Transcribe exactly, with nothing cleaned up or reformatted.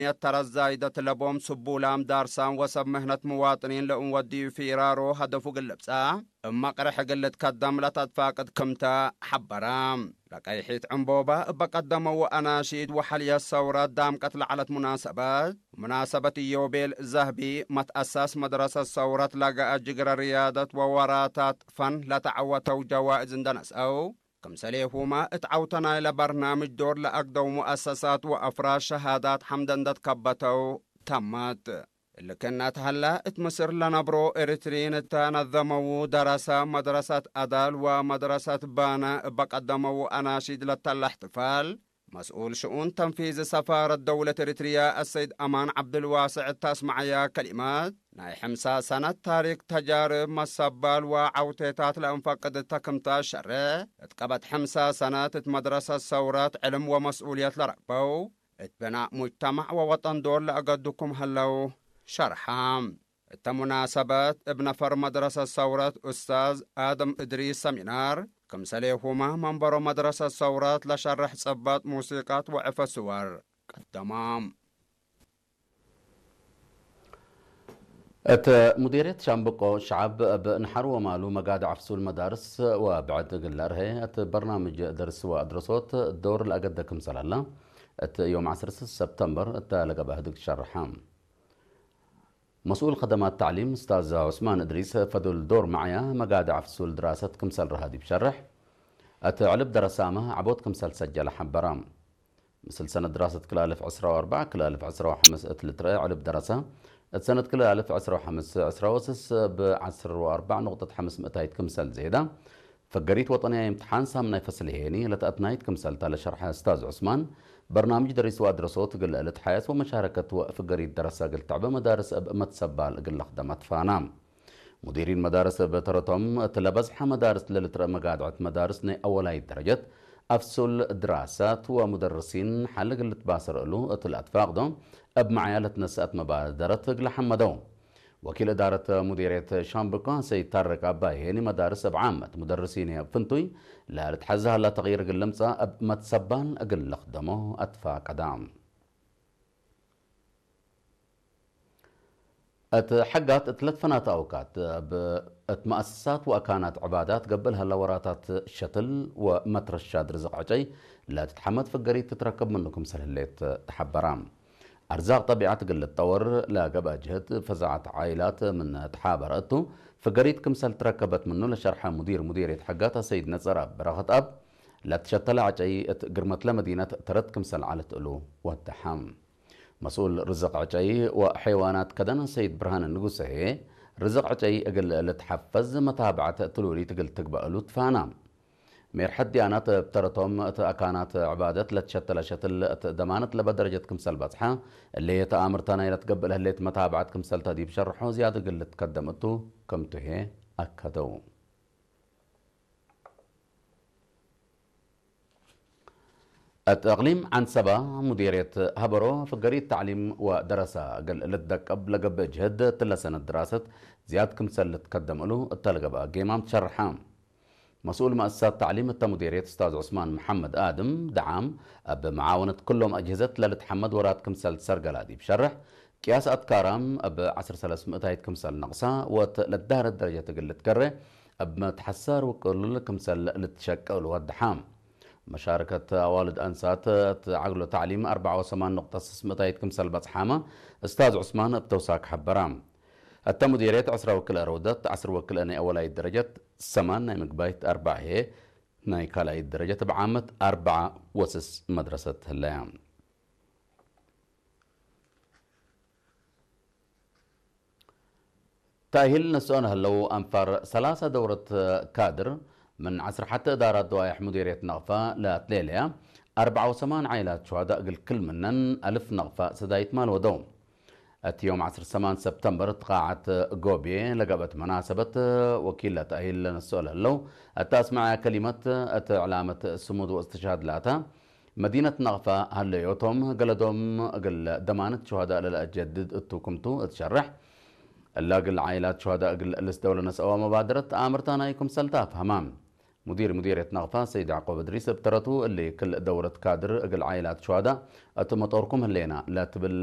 እምክንየት ተረት ዛይደት ለቦም ስቡላም ዳርሳም ወሰብ ምህነት ምዋጥኒን ለእንወድዩ ፊራሮ ሀደፉ እግል ልብጸሕ እብ መቅርሕ እግል ልትከደም ለተትፋቅድ ክምተ ሐበረ። ለቀይሒት ዕንቦባ እበ ቀደመው አናሺድ ወሐልየት ሰውረት ዳምቀት ለዐለት ሙናሰበት፣ ሙናሰበት ኢዮቤል ዘህቢ መትአሳስ መድረሰት ሰውረት ለገአ ጅግረ ርያደት ወወራታት ፈን ለተዐወተው ጀዋእዝ እንደ ነስአው፣ ክምሰሌሁመ እት ዐውተ ናይለ በርናምጅ ዶር ለአግደው ሙአሰሳት ወአፍራድ ሸሃዳት ሐምደ እንደ ትከበተው ተመት። እሊ ክእነ እት ሀለ፣ እት ምስር ለነብሮ ኤሪትሪን እተ ነዘመዉ ደረሰ መድረሰት አዳል ወመድረሰት ባነ እበ ቀደመዉ አናሺድ ለተለ እሕትፋል፣ መስኡል ሽኡን ተንፊዝ ሰፋረት ደውለት ኤሪትርያ አሰይድ አማን ዐብድልዋስዕ እተ አስመዐያ ከሊመት፣ ናይ ሕምሳ ሰነት ታሪክ ተጃርብ መሰባል ወዐውቴታት ለእንፈቅድ እተ ክምተ ሸሬሕ፣ እት ቀበት ሕምሳ ሰነት እት መድረሰት ሰውረት ዕልም ወመስኡልየት ለረክበው፣ እት ብናእ ሙጅተማዕ ወወጠን ዶር ለአገዱ ክም ሀለው ሸርሐ። እተ ሙናሰበት፣ እብ ነፈር መድረሰት ሰውረት ኡስታዝ አደም እድሪስ ሰሚናር፣ ክምሰሌሁመ መንበሮ መድረሰት ሰውረት ለሸርሕ ጽበጥ ሙሲቀት ወዕፈ ስወር ቀደመ። እት ሙዲርየት ሻምብቆ ሸዐብ እብ ንሓር ወማሉ መጋድዕ ፍሱል መዳርስ ወብዕድ እግል ለአርሄ እት በርናምጅ ደርስ ወአድረሶት ዶር ለአገደ ክምሰል ሀለ፣ እት ዮም ዐስር ሰብተምበር እተ ለገብአ ህድግ ሸርሐ። መስኡል ከደማት ተዕሊም እስታዝ ዑስማን እድሪስ፣ ፈዱል ዶር መዕያ መጋድዕ ፍሱል ድራሰት ክምሰል ረሀ ዲብ ሸርሕ፣ እት ዕልብ ደረሳመ ዐቦት ክምሰል ሰጀለ ሐበረ። ምስል ሰነት ድራሰት ክልአልፍ ዕስራ ወአርበዕ ክልአልፍ ዕስራ ወሐምስ እት ልትረአ ዕልብ ደረሰ፣ እት ሰነት ክልአልፍ ዕስራ ወሐምስ ዕስራ ወስስ ብዐስር ወአርበዕ ኑቅጠት ሐምስ ምእታይት ክምሰል ዜዳ፣ ፍገሪት ወጠንያይ እምትሓን ሳምናይ ፈስል ሄኒ ለተአትናይት ክምሰልታ ለሸርሐ እስታዝ ዑስማን፣ በርናምጅ ደሪስ ወአድረሶት እግል ልትሓየስ ወመሻረከት ወፍገሪት ደረሰ እግል ተዕበ መዳርስ እብ መትሰባል እግል ለክደመ ትፋና። ሙዲሪን መዳርስ እብ ተረቶም፣ እት ለበዝሐ መዳርስ ለልትረአ መጋድዐት መዳርስ ናይ አወላይት ደረጀት፣ አፍሱል ድራሳት ወሙደርሲን ሐል እግል ልትባሰር እሉ እት ለአትፋቅዶ፣ እብ መዕያ ለትነሰአት መባደረት እግል ሐመደው። ወኪል እዳረት ሙዲርየት ሻምብቆ ሰይድ ታርቅ አባይ ሄኒ፣ መዳርስ እብ ዓመት ሙደርሲን እብ ፍንቱይ ለልትሐዘ ሀላ ተቅይር እግል ልምጸእ እብ መትሰባል እግል ልክደሞ አትፋቀዳ። እት ሐጋት እት ለትፈናተ አውቃት እብ እት መአሰሳት ወአካናት ዕባዳት ገብእ ለሀለ ወራታት ሸትል ወመትረሻት ርዝቅ ዕጨይ ለትትሐመድ ፍገሪት ትትረከብ ምኑ ክምሰል ህሌት ተሐበራ። አርዛቅ ጠቢዐት እግል ልትጠወር ለገብአ ጅህድ ፈዛዐት ዓኢላት ምን ተሓበረ እቱ፣ ፍገሪት ክምሰል ትረከበት ምኑ ለሸርሐ ሙዲር ሙዲርየት ሐጋት አሰይድ ነጸር አብ በረኸት አብ፣ ለትሸተለ ዐጨይ እት ግርመትለ መዲነት ተረት ክምሰል ዐለት እሉ ወደሐ። መስኡል ርዝቅ ዕጨይ ወሐይዋናት ከደን ሰይድ ብርሃነ ንጉሰ ህዬ፣ ርዝቅ ዕጨይ እግል ልትሐፈዝ መታብዐት ትሉሊት እግል ትግበእ እሉ ትፋና። ሜርሐት ዲያናት እብ ተረቶም እት አካናት ዕባደት ለትሸተለ ሸትል እት ደማነት ለበ ደረጀት ክምሰል በጽሐ፣ እሊ ተአምርተ ናይ ለትገብእ ለህሌት መታብዐት ክምሰልተ ዲብ ሸርሖ ዝያድ እግል ልትከደም እቱ ክምቱ ህዬ አከደው። እት እቅሊም ዐንሰበ ሙዲርየት ሀበሮ ፍገሪት ተዕሊም ወደረሰ እግል ልትደቀብ ለገብእ ጅህድ እትለ ሰነት ድራሰት ዝያድ ክምሰል ልትከደም እሉ እተ ለገብአ ጌማም ትሸርሐ። መስኡል መአሰሳት ተዕሊም እተ ሙዲርየት እስታዝ ዑስማን መሐመድ አድም ደዓም፣ እብ መዓወነት ክሎም አጅህዘት ለልትሐመድ ወራት ክምሰል ትሰርገላ ዲብ ሸርሕ፣ ቅያስ አትካራም እብ ዐስር ሰለስ ምእታይት ክምሰል ነቅሳ፣ ወእት ለዳህረት ደረጀት እግል ልትከሬ፣ እብ መትሐሳር ውቅሉል ክምሰል ልትሸቀሉ ወደሐ። መሻርከት አዋልድ አንሳት እት ዐግሎ ተዕሊም አርበዓ ወሰማን ኑቅጠት ስስ ምእታይት ክምሰል በጽሓመ እስታዝ ዑስማን እብ ተውሳክ ሐበራ። እተ ሙዲርየት ዐስረ ወክልኤ ረውደት፣ ዐስር ወክልኤ ናይ አወላይት ደረጀት፣ ሰማን ናይ ምግባይት፣ አርበዕ ህዬ ናይ ካልኣይት ደረጀት እብ ዓመት አርበዓ ወስስ መድረሰት ህለያ። ተእሂል ነስኦ ነህለው አንፋር ሰላሰ ደውረት ካድር ምን ዐስር ሐተ እዳራት ደዋይሕ ሙዲርየት ነቅፈ ለአትሌለያ አርበዓ ወሰማን ዓኢላት ሹሀዳእ እግል ክል ምነን አልፍ ነቅፈ ሰዳይት ማል ወደው። እት ዮም ዐስር ሰማን ሰብተምበር እት ቃዐት ጎብዬ ለገብአት መናሰበት ወኪል ለተእሂል ለነስኦ ለህለው እተ አስመዐያ ከሊመት እት ዕላመት ስሙድ ወእስትሽሃድ ለአተ መዲነት ነቅፈ ሀለዮቶም፣ ገለዶም እግል ደማነት ሹሀዳእ ለለአጀድድ እቱ ክምቱ እት ሸርሕ፣ እለ እግል ዓኢላት ሹሀዳእ እግል ልስደው ለነስአወ መባደረት ተአምርተ ናይ ክምሰል ተአፍሀመ። ሙዲር ሙዲርየት ናቅፋ ሰይድ ያዕቆብ እድሪስ እብ ተረቱ፣ እሊ ክል ደውረት ካድር እግል ዓኢላት ሹሀዳእ እት መጦርኩም ህሌና ለትብል